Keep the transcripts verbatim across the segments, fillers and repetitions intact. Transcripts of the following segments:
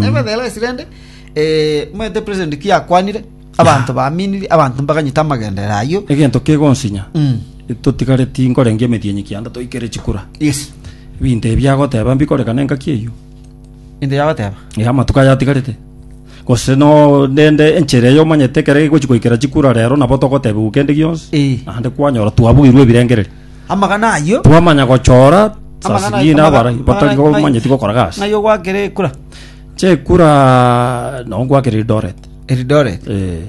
Nevertheless rende eh mwete president ki akwanire abanto baminiri abanto mbaganyete amagenderero ayio. Egento kegonsinya, Mm. totigareti nkorengia emetienyi kianda toikere chikura. Yes. Ebinto ebi agoteba mbikorekana engaki eyio. Into yagoteba. Eh, amatuko aya atigarete. Gose no rende enchera eyo omanyete ekere egochi goikera chikura rero nabo togotebiwa kende gionsi. Eh. Naende kwanyora twabuirwe ebirengereri. Amagana ayio. Twamanya gochora saa Amagana zingine amagana- abarai batari amagana- komanyeti gokora gasi. Ng'ai ogwakera ekura. Che ekura no ngwakera Eldoret. Eldoret. Eh,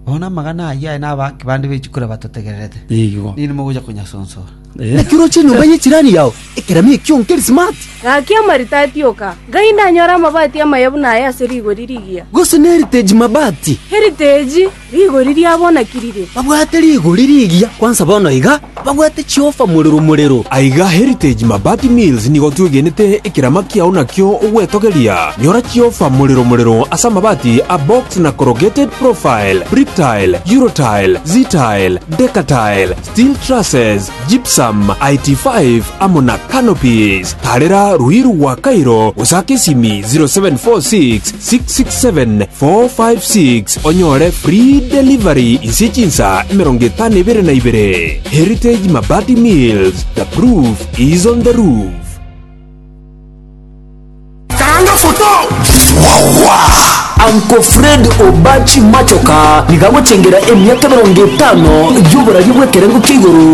Bono amagana ayio aye nabaki bande bechikura batotegererete. igo. Nini mogocha konyasonsora. Eh. Naki oroche enyomba y'echirani yao ekerami ekio nkeri smart. Gaki amaritati oka ngai ndanyora amabati amaya buna aya ase rigori rigiya. Gose ne Heritage Mabati. Heritage rigori riabonakirire. Babwate rigori rigiya kwanza bono iga babwate chiofa morero morero. Aiga Heritage Mabati Mills nigo twegenete ekerama kiao nakio ogwetogeria. Nyora chiofa morero morero ase amabati a box na corrugated profile, brick tile, eurotile, z-tile, decatile, steel trusses, gypsum, I T five amo na canopies. Tarera Ruiru gwa Cairo gosaka esimi zero seven four six six six seven four five six onyore free delivery inse chinsa emerongo etano ebere na ibere. Heritage Mabati Mills, the proof is on the roof. Karanga foto. Uncle Fred Obachi Machoka nigagochengera emiaka emerongo etano y'oboraria bw'ekerengo kia igoro.